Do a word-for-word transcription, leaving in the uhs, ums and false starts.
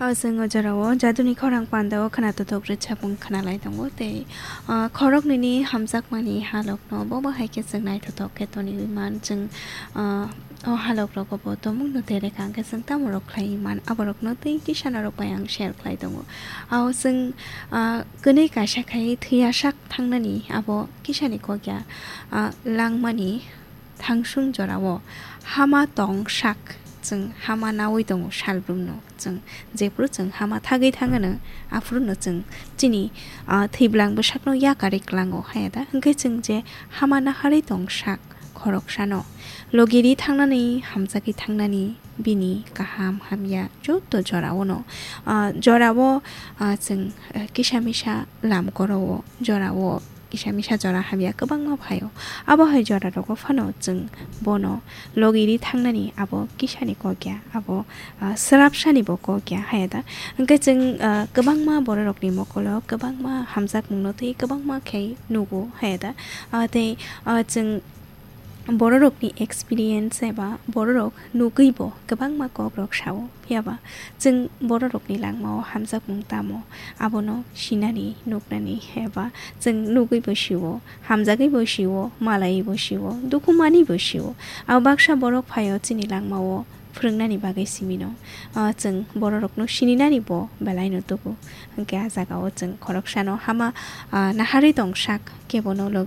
O chwng o jorao jaduni khorang pandao khwnathothok rwchapung khwnalai tongo tei, ah, khoroknwini hamjakmani halokno bo bo hai khe chwng naithothok khe toniwi man. Chwng, ah, o halokrogo bo tongmungno tere kha hwnkhe chwng tamo rok khlaiwi man, aborokno tei kisa norok bai ang share khlai tongo. Ao chwng, ah, kwnwi kaisa khai thwiya sak thangnani abo kisani kokya, ah, langmani thangsung jorao hama tong sak, chwng hama naui tongo salbrumno. Chwng jephuru chwng hama thagwi thangano, aphuru no chwng chini, ah, thwibwlang bwsakno yakarwi klango, haya da? Hwnkhe chwng je hama naharwi tong sak khoroksano, logiri thangnani, hamjagwi thangnani, bini kaham hamya joto jorao no, ah, jorao, ah, chwng, ah, kisa misa lam koro-o, jorao kisa misa jora hamya kwbangma phaio. Abo hai jora rogo phano chwng bono logiri thangnani abo kisani kokya, abo, ah, swrapsani bo kokya, haya da? Hwnkhe chwng, ah, kwbangma bororokni mokolo kwbangma hamjakmungno tei kwbangma khe nugo, haya da? Ah, tei, ah, chwng bororokni experience eba bororok nugwibo kwbangma kokrok sao. Phiya ba chwng bororokni langmao hamjakmung tamo, abono sinani, nuknani, eba chwng nugwibo sio, hamjagwibo sio, malaibo sio, dukhu manibo sio. Abo baksa borok phaio chini langmao phwrwngnani bagwi simino. Ah, chwng bororokno sininani bo belaino tubu. Hwnkhe ah jagao chwng khoroksano hama, ah, naharwi tong sak, kebono logi